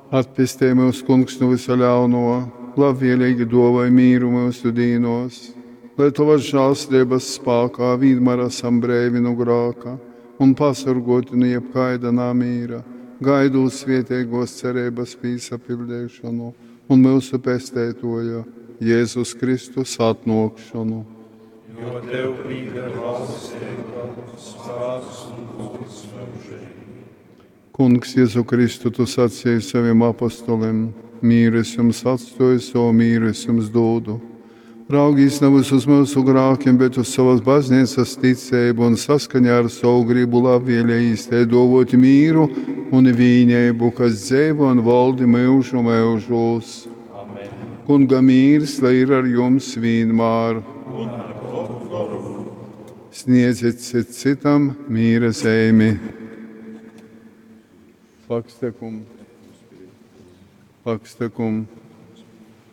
Atpestej myus, Kungs, nu vysa ļaunuo, labvieleigi duovoj mīru myusu dīnuos, lai tovas žālsirdības spākā vīnmār asam breivi nu grāka un pasorguoti nu jebkaida namīra, gaidūt svieteiguos cereibys pīsapiļdeišonu un myusu Pesteituoja Jezus Kristus atnuokšonu. Jo tev pīdar valstība, spāks un gūds myužīgi. Kungs, Jezu Kristu, tu sacīji saviem apostoliem: Mīru es jums atstoju, savu mīru es jums dodu. Raugīs nevis uz mūsu grākiem, bet uz savas baznīcas ticību un saskaņā ar savu gribu labvēlējīs te dovot mīru un vīnību, kas dzeivo un valdi mūžu mūžos. Amen. Kunga mīrs, lai ir ar jums vienmēr. Un ar tavu goru. Sniedziet cits citam mīra zeimi. Pakstekum. Pakstekum.